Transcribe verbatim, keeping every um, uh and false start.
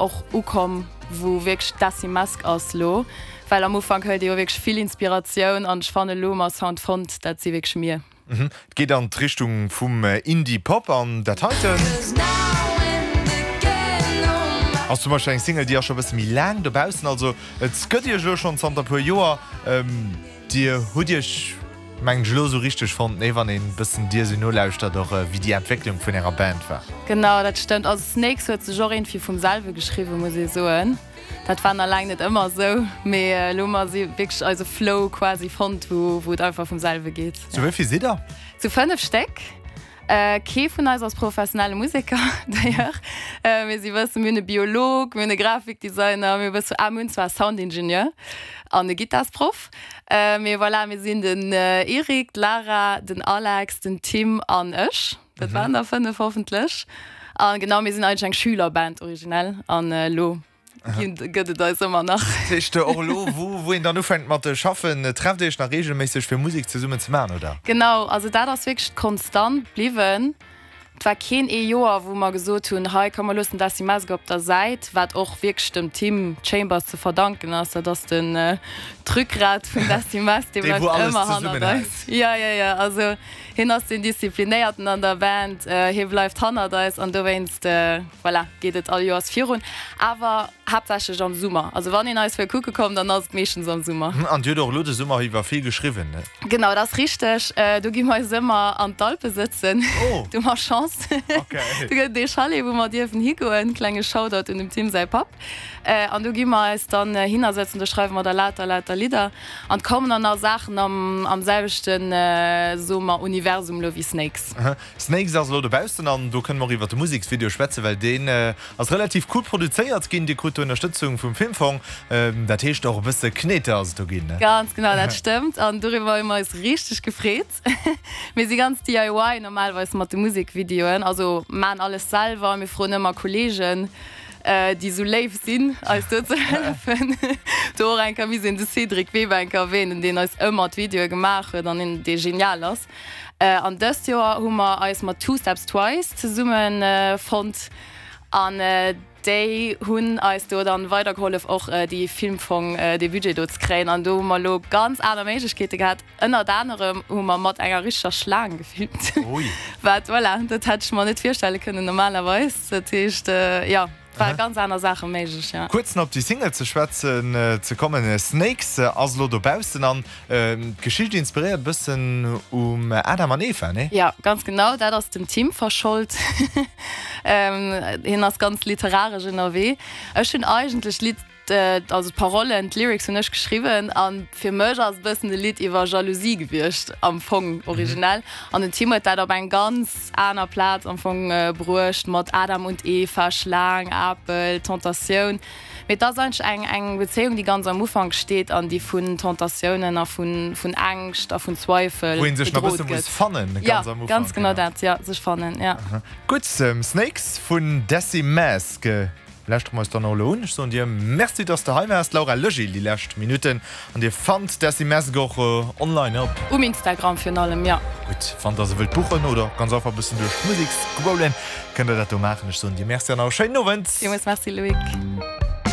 Och ukomm, wou wierklech Desi Mask ass lo, well am Ufank hëlt ee jo wierklech vill Inspiratioun an ech fannen elo hu mer Sound fonnt, dat si wierklech mir. Mhm. Et geet an d'Richtung vum Indie-Pop an dat heiten ass zum Beispill eng Single, déi ass scho e bësse méi laang dobaussen. Also et gëtt iech elo schonn zanter e puer Joer. Dir hutt iech, mengen ech, elo esou richteg fonnt, nee, wann een e bëssen dir esou nolauschtert, och wéi déi Entwécklung vun ärer Band war. Genau, dat stëmmt. Also Snakes huet sech och iergendwéi vum selwe geschriwwen, muss ee soen. Dat war nach laang net ëmmer esou, mee elo hu mer si wierklech eise Flow quasi fonnt, wou wou et einfach vum selwe geet. Zu wéi vill sidd der? Zu fënnef Stéck. Kee vun eis ass professionelle Museker, d'ailleurs. Mir si bëssen, mir hunn e Biolog, mir hunn e Grafikdesigner, mir hu bësse, ah, mir hunn zwar e Soundingenieur an e Gittarsproff. Mee voilà, mir sinn den Eric, d'Lara, den Alex, den Tim an ech. Dat waren der fënnef hoffentlech. A genau, mir sinn eigentlech eng Schülerband originell an elo gëtt et eis ëmmer nach. Dat heescht och elo, wou een dann ufänkt mat schaffen, trefft Dir Iech nach reegelméisseg fir Musek zesummen ze maachen, oder? Genau, also dat ass wierklech konstant bliwwen. Et war keen ee Joer, wou mer gesot hunn, hei komm mer loossen Desi Mask op der Säit, wat och wierklech dem Tim Chambers ze verdanken ass, dat ass den d'Rückgrat vun Desi Mask, dee bleift ëmmer hannert eis. Jo, jo, jo, also hien ass deen Disziplinéierten an der Band, hie bleift hannert eis an dowéinst, voilà, geet et all Joers virun, awer haaptsächlech am Summer. Also wann een eis wëll kucke kommen, dann ass et meeschtens am Summer. An Dir hutt och elo de Summer iwwer vill geschriwwen, ne? Genau, dat ass richteg. Do gi mer eis ëmmer an d'Alpe sëtzen. Oh! Do hu mer Chance. Okay. Do gëtt et ee Chalet, wou mer dierfen higoen. Klenge Shoutout un dem Tim säi Papp. An do gi mer eis dann hinnersëtzen, do schreiwe mer da lauter, lauter Lidder. An et kommen dann nach Saachen am, am selwechten, soe mer, Universum elo wéi Snakes. Snakes ass elo dobaussen an do kënne mer och iwwer de Museksvideo schwätzen, well deen ass relativ cool produzéiert ginn. Dir krut do Ënnerstëtzung vum Filmfong, dat heescht och e bësse Kneter ass et do ginn, ne? Ganz genau, dat stëmmt an doriwwer hu mer eis richteg gefreet. Mir si ganz D I Y normalerweis mat de Musekvideoen, also maan alles selwer, mir froen ëmmer Kollegen, déi esou léif sinn, eis do ze hëllefen. Do och eng Kéier misst een de Cédric Weber eng Kéier erwähnen, deen eis ëmmer d'Videoe gemaach huet an dee genial ass. An dëst Joer hu mer eis mat Two Steps Twice zesumme fonnt an déi hunn eis do dann weidergehollef och déi Filmfong, dee Budget do ze kréien. An do hu mer elo ganz aner Méiglechkeete gehat. Ënnert anerem hu mer mat enger richteger Schlaang gefilmt. Wat, voilà, dat hätt ech mer net virstelle kënnen normalerweis. Dat heescht, jo, ware ganz aner Saache méiglech, jo. Kuerz nach op déi Single ze schwätzen ze kommen, Snakes ass elo dobaussen an d'Geschicht inspiréiert e bëssen um Adam an Eva, nee? Jo, ganz genau, dat ass dem Tim verschold. Hien ass ganz literaresch ënnerwee. Ech hunn eigentlech d'Lidd, also d'Parollen, d'Lyrics hunn ech geschriwwen an fir mech ass e bëssen e Lidd iwwer Jalousie gewiescht am Fong originell. An den Tim huet dat op eng ganz aner Plaz am Fong bruecht mat Adam und Eva, Schlaang, Apel, Tentatioun. Mee et ass eigentlech eng eng Bezéiung, déi ganz am Ufank steet an déi vun Tentatiounen a vun vun Ängscht a vun Zweifel Wou ee sech nach bedroht bësse muss gëtt. fannen Ja, ganz am ganz Ufank, genau genau. dat, ja, sech fannen, ja. Gutt, Snakes vun Desi Mask lauschtere mer eis dann och elo un. Ech soen dir Merci, dass de hei waars, Laura Legil, déi lescht Minutten. An dir fannt Desi Mask och online op. Um Instagram virun allem, ja. Gutt, wann der se wëllt buchen oder ganz einfach e bëssen duerch d'Musek scrollen, kënnt der dat do maachen. Ech soen dir Merci an nach e schéinen Owend. Villmools Merci, Loïc.